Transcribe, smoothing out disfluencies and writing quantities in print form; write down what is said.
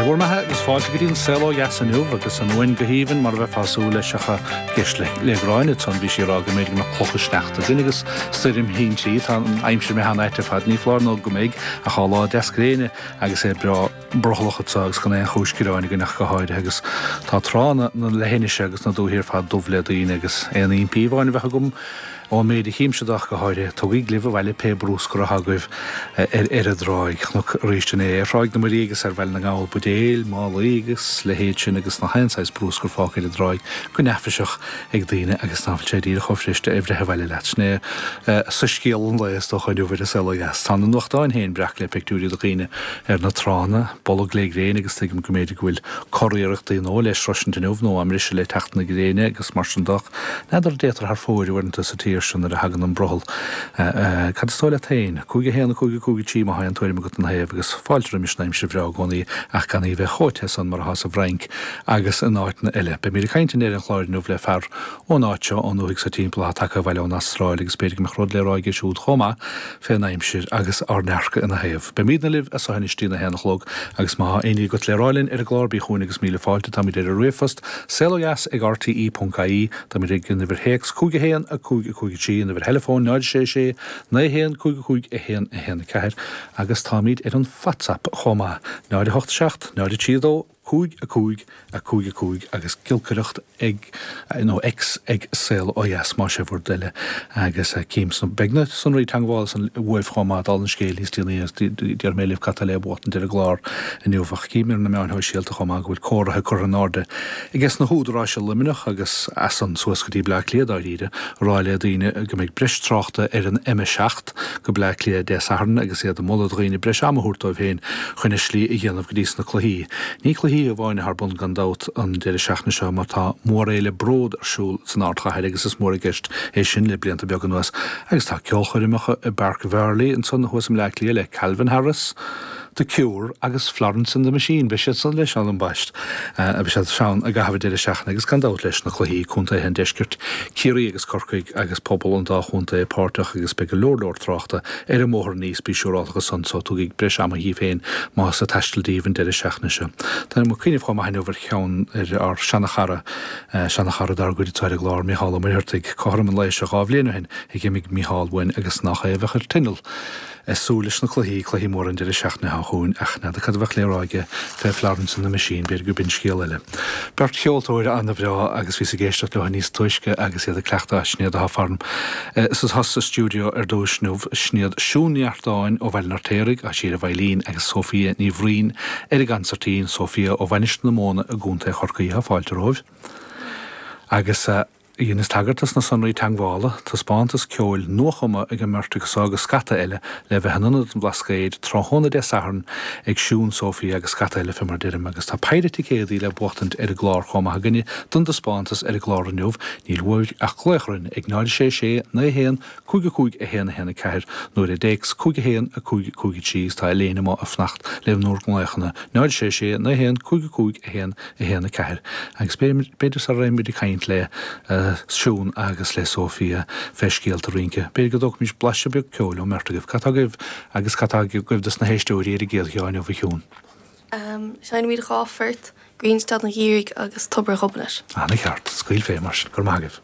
bhur mbeatha agus fáilte go dtí an Saol Ó Dheas inniu agus an uain go haoibhinn mar a bheifeá ag súil leis ach ag éisteacht le le Gráinne ansan bhí sí ag rá go mb'fhéidir go mbeadh clocha sneachta againn agus stoirm thintrí. Tá an aimsir imithe an-ait ar fad, ní foláir nó go mbeidh ach tá lá deas gréine agus é breá brothallach anseo agus gan aon chúis gearáin againn ach go háirithe agus tá tránna na leithinise agus na dúichí ar fad dubh le daoine agus aon impí amháin a bheadh agam ón méid a chímse de ach go háirithe, tugaigí libh abhaile pé brúscar atá agaibh ar ar an dtráigh. Chonac arís inné ar Thráigh na Muirí agus ar Bhaile na nGall buidéil, málaí agus leithéid sin agus nach aon saghas brúscar fágtha ar an dtráigh go neafaiseach ag daoine agus ná fuil sé díreach chomh fuirist é a bhreith abhaile leat. Sin é soiscéal an lae is dócha inniu ar an Saol Ó Dheas. Tá na nuachtáin féin breac le pictiúirí de dhaoine ar na tránna, bolg le gréin agus tuigim go mb'fhéidir go bhfuil curiarrachtaí nó le sroisint inniu nó á mbriseadh le teacht na gréine agus mar sin de ach n'fheadar an dtéitear thar fóir uaireanta sa tír seo nuair a thagann an brothall. Cad is dóigh leat féin? 5 1 5 5 3 má tá aon tuairim agat ina thaobh agus fáilte roimis an aimsir bhreá i gcónaí ach gan í a bheith chomh te san mar atá sa bhFrainc agus in áiteanna eile. Beimid ag caint i ndeireadh an chláir inniu le fear ón áit seo, ón ndúthaigh seo timpeall, atá tagtha abhaile ón Astráil agus b'fhéidir go mbeadh rud le rá aige siúd chomh maith fén aimsir agus ár ndearcadh ina thaobh. Beimidne libh as seo anois dtí'n 1 a chlog agus má tá aon ní agat le rá linn ar an gclár bí chugainn agus míle fáilte. Táimid ar an ríomhphost, saolodheas ag rte ponc ie, táimid ag an uimhir théacs 5 1 5 5 3, an uimhir theileafóin 0 6 6 9 1 5 5 1 1 4 agus táimid ar an Whatsapp chomh maith, 0 8 7 0 3 2 5 5 5 5 agus giolcaireacht ag, nó X ag Saol Ó Dheas más é bhur dtoil agus cím sna, beidh na sonraí teagmhála san uaibh chomh maith dála an scéil níos déanaí agus déarfaidh mé libh cad tá le buachtaint ar an gclár inniu ach cím ar na meáin shóisialta chomh maith go bhfuil comhartha curtha in airde ages na húdaráis i Luimneach agus as san suas go dtí Bleá Cliath dáiríre ag rá le daoine go mbeidh breis tráchta ar an M7 go Bleá Cliath Dé Sathairn agus iad ag moladh do dhaoine breis ama a thabhairt dóibh féin chun a slí a dhéanamh go dtí sna cluichí. Ní cluichí amháin atá ar bun gan dabht an deireadh seachtaine seo mar tá mórfhéile Bród ar siúl san ardchathair agus is mór i gceist é sin le blianta beaga anuas agus tá ceolchoirmeacha i bPáirc Bhearlaí ansan thuas i mBleá Cliath le Calvin Harris, The Cure agus Florence and the Machine, beidh siad san leis ann ambaist, beidh siad ann i gcaitheamh an deireadh seachtaine agus gan dabht leis na cluichí contaetha an deiscirt, Ciarraí agus Corcaigh agus pobal an dá chontae páirteach agus beidh go leor leor tráchta ar an mbóthar aníos, bí siúrálta ansan so tugaigí breis ama dhíbh féin más ag taisteal daoibh an deireadh seachtaine seo. Táim ag cuimhneamh chomh maith inniu ar cheann ar ár seana-chara, seana-chara dár gcuid atá ar an gclár, Mícheál Ó Muircheartaigh, cothrom an lae seo 2 bhliain ó shin a dh'imigh Mícheál uainn agus nach é a bheadh ar tinneall ag súil leis na cluichí, cluichí móra an deireadh seachtaine seo chugainn ach n'fheadar cad a bheadh le rá aige fé Florence and the Machine, b'fhéidir go b'in scéal eile. Beirt cheoltóir ana-bhreá agus bhíos ag éisteacht leo níos túisce agus iad ag cleachtadh, sin iad atá faram sa sa stiúideo ar dtúis inniu, sin iad Siún Ní Artáin ó Bhaile an Fheirtéaraigh, tá sí ar an veidhlín, agus Sophia Ní Bhraoin ar an gcansairtín, Sophia ó Mhainistir na Móna i gContae Chorcaí. Tá fáilte romhaibh. Agus. Dheineas tagairt dos na sonraí teagmhála, taispeántas ceoil nuachumtha ag an mbeirt acu so agus scata eile le bheith in Ionad an Bhlascaoid tráthnóna Dé Sathairn ag Siún, Sophia agus scata eile fé mar deirim agus tá péire ticéadaí le buachtaint ar an gclár chomh maith againne don dtaispeántas ar an gclár inniu, níl uaibh ach glaoch orainn ag 0 6 6 9 1 5 5 1 1 4 nó ar an dtéacs 5 1 5 5 3 agus tá Elaine amuigh ag fanacht le bhur nglaochanna 0 6 6 9 1 5 5 1 1 4 agus b'fhéidir sara raghaimid ag caint le Siún agus le Sophia fé scéalta rince, b'fhéidir go dtógfaimis blaiseadh beag ceoil ón mbeirt agaibh. Cad tá agaibh agus cad tá agaibh dos na héisteoirí ar an gcéad cheann inniu, a Shiún? Seinnimid 2 phort, Grianstad an Gheimhridh agus Tobar Ghobnait. Ana cheart. Scaoil fé mar sin. Go raibh maith agaibh.